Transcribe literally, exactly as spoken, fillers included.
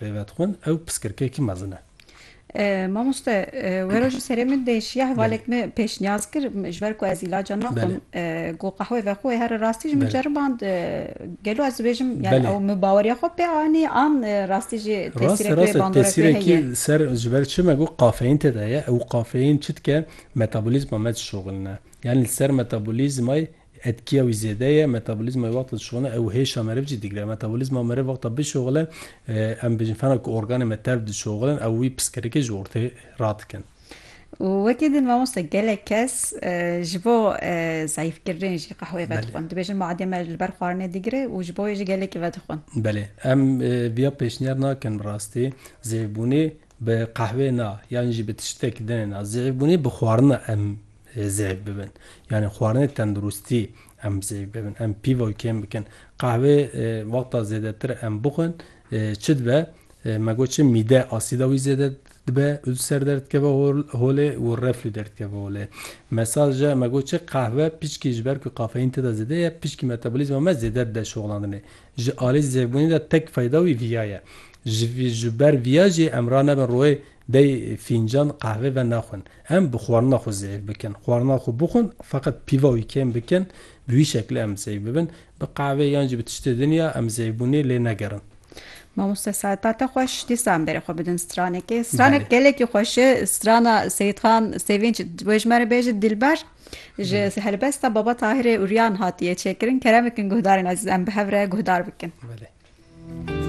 pê ve dixwin, ew piskirkekî mezin e. E, mamoste, e, wero ji serê min de şiya hevalek min pêşniyaz kir, m- ji ber ku ez îlaca naxwim, Belê. e, got qehwê vexwe here rastî ji min Belê. ceriband, e, gelo ez dibêjim, yani Belê. ew min baweriya xwe pê anî an, e, rastî jî Rast tesîrek wê rast e bandorek wê heye. tesîrekî ser ji ber çi me got kafeîn tê de ye. Ew kafeîn çi dike metabolîzma me dişoxilne. Yani li ser metabolîzmayê etkiya wî zêde ye, metabolîzmayê wexta dişoxilne ew hêşa meriv jî digre. Metabolîzma meriv wexta bişoxile, e, em bêjin fena ku organê me tev dişoxilin, ew wî piskirikê ji ortê radikin. Û wekî din mamoste gelek kes, e, ji bo, e, zayîfkirinê jî qehwê Belê. vedixwin. Dibêjin madê me li ber xwarinê digire û ji bo wê jî gelekî vedixwin. Belê. Em, e, viya pêşniyar nakin bi rastî. Zêvbûnê bi qehwê na, yan jî bi tiştek dinê na. Zêvbûnê bi xwarina em, e, zêv bibin. Yani xwarinê tenduristî em zêv bibin. Em pîva wî kêm bikin. Qehwê, e, wexta zêdetir em bixwin, e, çi dibe? E, me got çi mîde asîda wî zêde dibe, ulser derdikeve hol- holê û reflü derdikeve holê. Mesaja me got çi qehwe pişkî ji ber ku kafeîn tê de zêde ye, pişkî metabolîzma me zêde dide şoxlandinê. Ji alî zêvbûnê de tek fayda wî viya ye. Ji vî- ji ber viya jî em ranebin royê dey fîncan qehwe ve naxwin. Em bi xwarina xwe zêv bikin. Xwarina xwe bixwin, feqet pîva wî kêm bikin, bi wî şeklê em zêv bibin. Bi qehwê yan jî bi tiştê din ya em zêvbûnê lê negerin. Mamoste saeta te xweş, dîsa em berê xwe bidin stranekê. Stranek Belê. gelekî xweş e, strana Seyîdxan Sevinç, wê ji me re bêje Dilber. Ji Belê. helbesta Baba Tahirê Uryan hatiye çêkirin. Kerem bikin guhdarên ezîz, em bi hev re guhdar bikin. Belê.